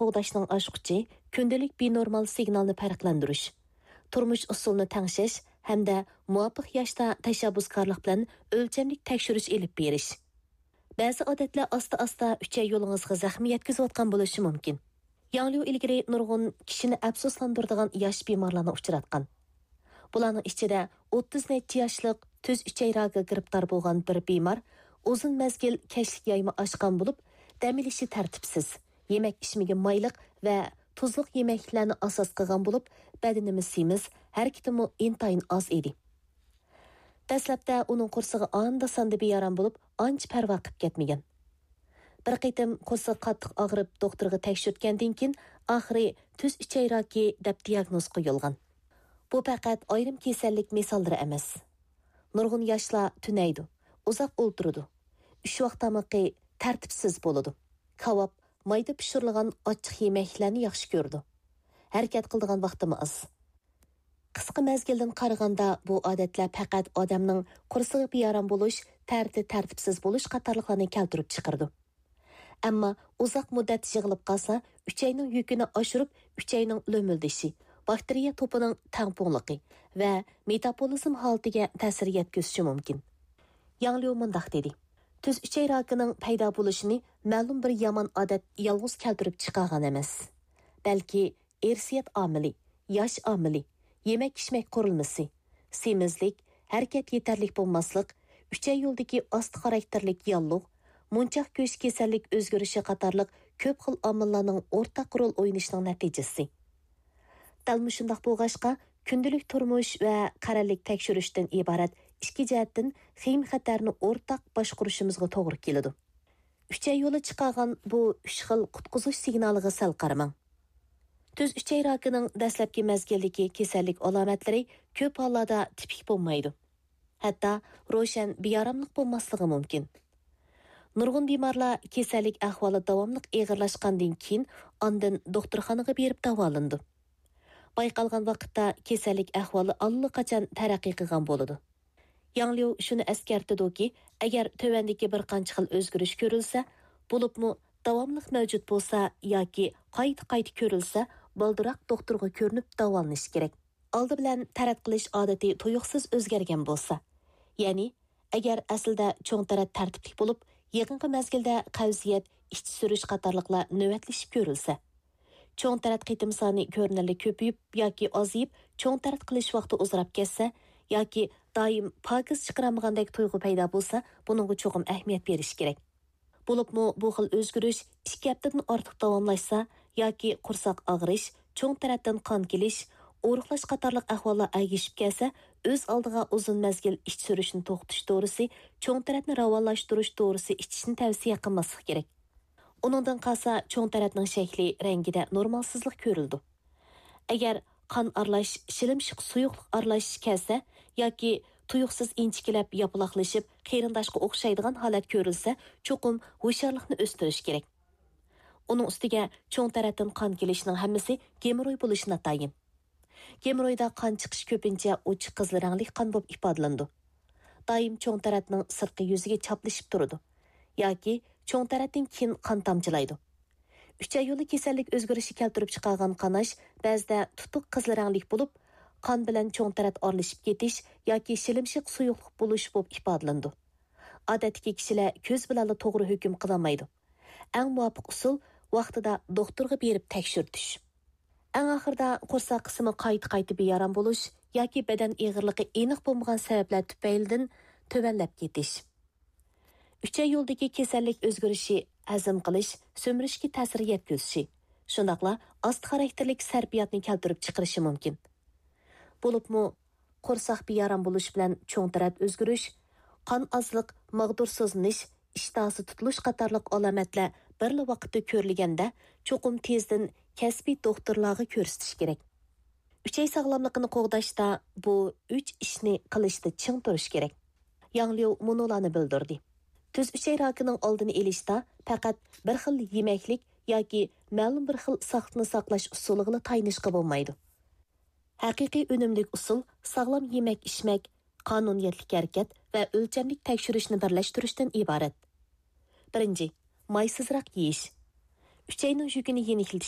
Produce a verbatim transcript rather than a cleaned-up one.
قوغداشنىڭ ئاچقۇچى كۈندىلىك بىنورمال سىگنالنى پەرقلەندۈرۈش، تۇرمۇش ئۇسۇلىنى تەڭشەش ھەمدە مۇۋاپىق ياشتا تەشەببۇسكارلىق بىلەن ئۆلچەملىك تەكشۈرۈش ئېلىپ بېرىش. بەزى ئادەتلەر ئاستا-ئاستا ئۈچەي يولىڭىزغا زەخمە يەتكۈزۈۋاتقان بولۇشى مۇمكىن. ياڭ ليۇ ئىلگىرى نۇرغۇن كىشىنى ئەپسۇسلاندۇرىدىغان ياش بىمارلارنى ئۇچراتقان. بۇلارنىڭ ئىچىدە ئوتتۇز نەچچە ياشلىق تۈز ئۈچەي راكىغا گىرىپتار بولغان بىر بىمار ئۇزۇن مەزگىل كەچلىك يايما ئاچقان بولۇپ، دەم ئېلىشى تەرتىپسىز، يېمەك-ئىچمىكى مايلىق ۋە تۇزلۇق يېمەكلىكلەرنى ئاساس قىلغان بولۇپ، بەدىنىمۇ سېمىز، ھەرىكىتىمۇ ئىنتايىن ئاز ئىدى. دەسلەپتە ئۇنىڭ قورسىقى ئاندا-ساندا بىئارام بولۇپ، ئانچە پەرۋا قىلىپ كەتمىگەن. بىر قېتىم قورسىقى قاتتىق ئاغرىپ، دوختۇرغا تەكشۈرتكەندىن كېيىن، ئاخىرى تۈز ئۈچەي راكى دەپ دىياگنوز قويۇلغان. بۇ پەقەت ئايرىم كېسەللىك مىساللىرى ئەمەس. نۇرغۇن ياشلار تۈنەيدۇ، ئۇزاق ئولتۇرىدۇ، ئۈچ ۋاق تامىقى تەرتىپسىز بولىدۇ، كاۋاپ، مايدا پىشۇرۇلغان ئاچچىق يېمەكلەرنى ياخشى كۆرىدۇ. ھەرىكەت قىلىدىغان ۋاقتىمۇ ئاز. قىسقا مەزگىلدىن قارىغاندا، بۇ ئادەتلەر پەقەت ئادەمنىڭ قورسىقى بىئارام بولۇش، تەرىتى تەرتىپسىز بولۇش قاتارلىقلارنى كەلتۈرۈپ چىقىرىدۇ. ئەمما ئۇزاق مۇددەت يىغىلىپ قالسا، ئۈچەينىڭ يۈكىنى ئاشۇرۇپ، ئۈچەينىڭ لۆمۈلدىشى، باكتېرىيە توپىنىڭ تەڭپۇڭلۇقى ۋە مېتابولىزم ھالىتىگە تەسىر يەتكۈزۈشى مۇمكىن. ياڭ ليۇ مۇنداق دېدى: تۈز ئۈچەي راكىنىڭ پەيدا بولۇشىنى مەلۇم بىر يامان ئادەت يالغۇز كەلتۈرۈپ چىقارغان ئەمەس، بەلكى ئىرسىيەت ئامىلى، ياش ئامىلى، يېمەك-ئىچمەك قۇرۇلمىسى، سېمىزلىك، ھەرىكەت يېتەرلىك بولماسلىق، ئۈچەي يولىدىكى ئاستا خاراكتېرلىك ياللۇغ، مۇنچاق گۆش كېسەللىك ئۆزگىرىشى قاتارلىق كۆپ خىل ئامىللارنىڭ ئورتاق رول ئوينىشىنىڭ نەتىجىسى. دەل مۇشۇنداق بولغاچقا، كۈندىلىك تۇرمۇش ۋە قەرەللىك تەكشۈرۈشتىن ئىبارەت ئىككى جەھەتتىن خېيىم-خەتەرنى ئورتاق باشقۇرۇشىمىزغا توغرا كېلىدۇ. ئۈچەي يولى چىقارغان بۇ ئۈچ خىل قۇتقۇزۇش سىگنالىغا سەل قارىماڭ. تۈز ئۈچەي راكىنىڭ دەسلەپكى مەزگىلدىكى كېسەللىك ئالامەتلىرى كۆپ ھاللاردا تىپىك بولمايدۇ. ھەتتا روشەن بىئاراملىق بولماسلىقى مۇمكىن. نۇرغۇن بىمارلار كېسەللىك ئەھۋالى داۋاملىق ئېغىرلاشقاندىن كېيىن ئاندىن دوختۇرخانىغا بېرىپ داۋالىنىدۇ. بايقالغان ۋاقىتتا كېسەللىك ئەھۋالى ئاللىقاچان تەرەققىي قىلغان بولىدۇ. ياڭ ليۇ شۇنى ئەسكەرتىدۇكى، ئەگەر تۆۋەندىكى بىر قانچە خىل ئۆزگىرىش كۆرۈلسە، بولۇپمۇ داۋاملىق مەۋجۇت بولسا ياكى قايتا-قايتا كۆرۈلسە، بالدۇرراق دوختۇرغا كۆرۈنۈپ داۋالىنىش كېرەك. ئالدى بىلەن تەرەت قىلىش ئادىتى تۇيۇقسىز ئۆزگەرگەن بولسا، يەنى ئەگەر ئەسلىدە چوڭ تەرەت تەرتىپلىك بولۇپ، يېقىنقى مەزگىلدە قەۋزىيەت، ئىچ سۈرۈش قاتارلىقلار نۆۋەتلىشىپ كۆرۈلسە، چوڭ تەرەت قېتىم سانى كۆرۈنەرلىك كۆپىيىپ ياكى ئازىيىپ، چوڭ تەرەت قىلىش ۋاقتى ئۇزىراپ كەتسە ياكى دائىم پاكىز چىقىرالمىغاندەك تۇيغۇ پەيدا بولسا، بۇنىڭغا چوقۇم ئەھمىيەت بېرىش كېرەك. بولۇپمۇ بۇ خىل ئۆزگىرىش ئىككى ھەپتىدىن ئارتۇق داۋاملاشسا ياكى قورساق ئاغرىش، چوڭ تەرەتتىن قان كېلىش، ئورۇقلاش قاتارلىق ئەھۋاللار ئەگىشىپ كەلسە، ئۆز ئالدىغا ئۇزۇن مەزگىل ئىچ سۈرۈشنى توختىتىش دورىسى، چوڭ تەرەتنى راۋانلاشتۇرۇش دورىسى ئىچىشنى تەۋسىيە قىلماسلىق كېرەك. ئۇنىڭدىن قالسا، چوڭ تەرەتنىڭ شەكلى، رەڭگىدە نورمالسىزلىق كۆرۈلىدۇ. ئەگەر قان ئارىلاش، شىلىمشىق سۇيۇقلۇق ئارىلاش كەلسە ياكى تۇيۇقسىز ئىنچىكىلەپ ياپىلاقلىشىپ، قېرىنداشقا ئوخشايدىغان ھالەت كۆرۈلسە، چوقۇم ھوشيارلىقنى ئۆستۈرۈش كېرەك. ئۇنىڭ ئۈستىگە چوڭ تەرەتتىن قان كېلىشنىڭ ھەممىسى گېموروي بولۇشى ناتايىن. گېمورويدا قان چىقىش كۆپىنچە ئوچۇق قىزىل رەڭلىك قان بولۇپ ئىپادىلىنىدۇ. دائىم چوڭ تەرەتنىڭ سىرتقى يۈزىگە چاپلىشىپ تۇرىدۇ ياكى چوڭ تەرەتتىن كېيىن قان تامچىلايدۇ. ئۈچەي يولى كېسەللىك ئۆزگىرىشى كەلتۈرۈپ چىقارغان قاناش بەزىدە تۇتۇق قىزىل رەڭلىك بولۇپ، قان بىلەن چوڭ تەرەت ئارىلىشىپ كېتىش ياكى شىلىمشىق سۇيۇقلۇق بولۇش بولۇپ ئىپادىلىنىدۇ. ئادەتتىكى كىشىلەر كۆز بىلەنلا توغرا ھۆكۈم قىلالمايدۇ. ئەڭ مۇۋاپىق ئۇسۇل ۋاقتىدا دوختۇرغا بېرىپ تەكشۈرتۈش. ئەڭ ئاخىرىدا قورساق قىسمى قايتا-قايتا بىئارام بولۇش ياكى بەدەن ئېغىرلىقى ئېنىق بولمىغان سەۋەبلەر تۈپەيلىدىن تۆۋەنلەپ كېتىش. ئۈچەي يولىدىكى كېسەللىك ئۆزگىرىشى ھەزىم قىلىش، سۈمۈرۈشكە تەسىر يەتكۈزۈشى، شۇنداقلا ئاستا خاراكتېرلىك سەرپىياتنى كەلتۈرۈپ چىقىرىشى مۇمكىن. بولۇپمۇ قورساق بىئارام بولۇش بىلەن چوڭ تەرەت ئۆزگىرىش، قان ئازلىق، ماغدۇرسىزلىنىش، ئىشتىھاسى تۇتۇلۇش قاتارلىق ئالامەتلەر بىرلا ۋاقىتتا كۆرۈلگەندە، چوقۇم تېزدىن كەسپىي دوختۇرلارغا كۆرسىتىش كېرەك. ئۈچەي ساغلاملىقىنى قوغداشتا بۇ ئۈچ ئىشنى قىلىشتا چىڭ تۇرۇش كېرەك. ياڭ ليۇ مۇنۇلارنى بىلدۈردى: تۈز ئۈچەي راكىنىڭ ئالدىنى ئېلىشتا پەقەت بىر خىل يېمەكلىك ياكى مەلۇم بىر خىل ساقلىقنى ساقلاش ئۇسۇلىغىلا تايىنىشقا بولمايدۇ. ھەقىقىي ئۈنۈملۈك ئۇسۇل ساغلام يېمەك-ئىچمەك، قانۇنىيەتلىك ھەرىكەت ۋە ئۆلچەملىك تەكشۈرۈشنى بىرلەشتۈرۈشتىن ئىبارەت. بىرىنچى، مايسىزراق يېيىش. ئۈچەينىڭ يۈكىنى يېنىكلىتىش